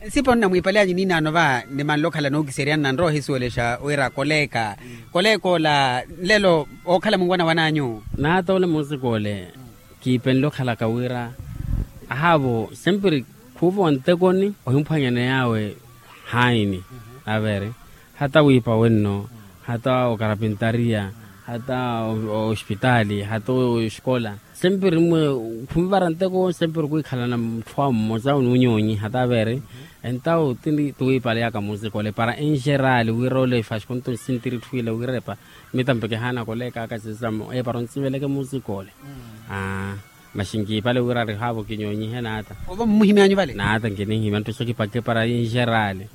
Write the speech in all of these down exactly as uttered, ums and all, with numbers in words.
Nsipa onnamwiipaleyanyu niinaano va nimanle okhala nookiseryani nanrowa ohisuwelexa wira koleeka koleeka ola nlelo ookhala munwana wananyu. Naata ole musikole kiipenle okhalaka wira ahaavo sempiri khuuva ontekoni ohimphwanyana yaawe haini avere hata wiipa wenno hata okarapintariya hata ospitaali hata oskola. Sempiri mmwe khunvara nteko sempiri khwikhalana mutthu awe mmosa onunyonyi hata avere entawo tini tuwiipaleyaka musikole para enxerali wira ole fasikuntu nsintiri etthu ile wira epa mitampe kihaana koleekaka sisamo epara ontsiveleke musikole. Maxi nkiipale wira rihaavo kinyonyihe naata. Ovo mmuhimyanyu vale naata nkinihimya nttuxa kipakhe para enxerali.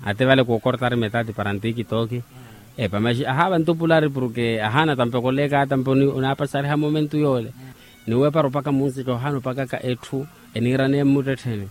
Ate vale kookortari metati para ntikitooki epa maxi ahaava ntupulari porke ahaana tampe koleeka tampe onaapasariha momentu yoole. Ni wepara opaka munsika ohaana opakaka etthu eniiraneya mmuttettheni.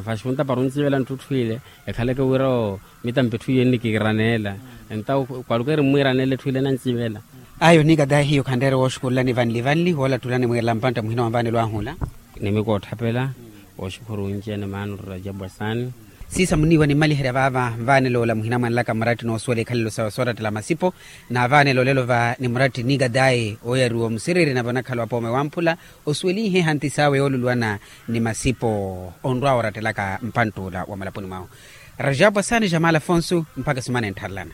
Fasikunta para ontsivela nttutthu ile ekhaleke wira oo mitampe etthu iye nnikiiraneela entawo kwaluka eri mmwiiraneela etthu ile enansivela. Ayo nikatahi hiyo khanreere wooxukululani vanli vanli woolattulani mwiirela mpantta muhina wa mvaanelo ahu ola. Nimikootthapela wooxukhuru onci-ene maana orrajabu asaani. Siisa muniiwa nimmaliherya vaava mvaanelo ola muhinamwanelaka mmaratti noosuwela ikhalelo sawe soorattela masipo. Naavaanelo olelo va ni muratti nikatahi ooyariwa omusiriiri nave onakhala wapoome wamphula osuwelinhe ehanti sawe yooluluwana ni masipo onrwa oorattelaka mpantt'ula wa malapuni mwahu. Rajabu asaani jamala afonso mpakha esumana enttharelana.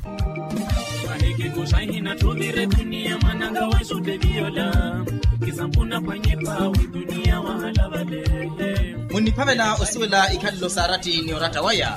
Munniphavela osuwela ikhalelo saaratti ni oratta waya.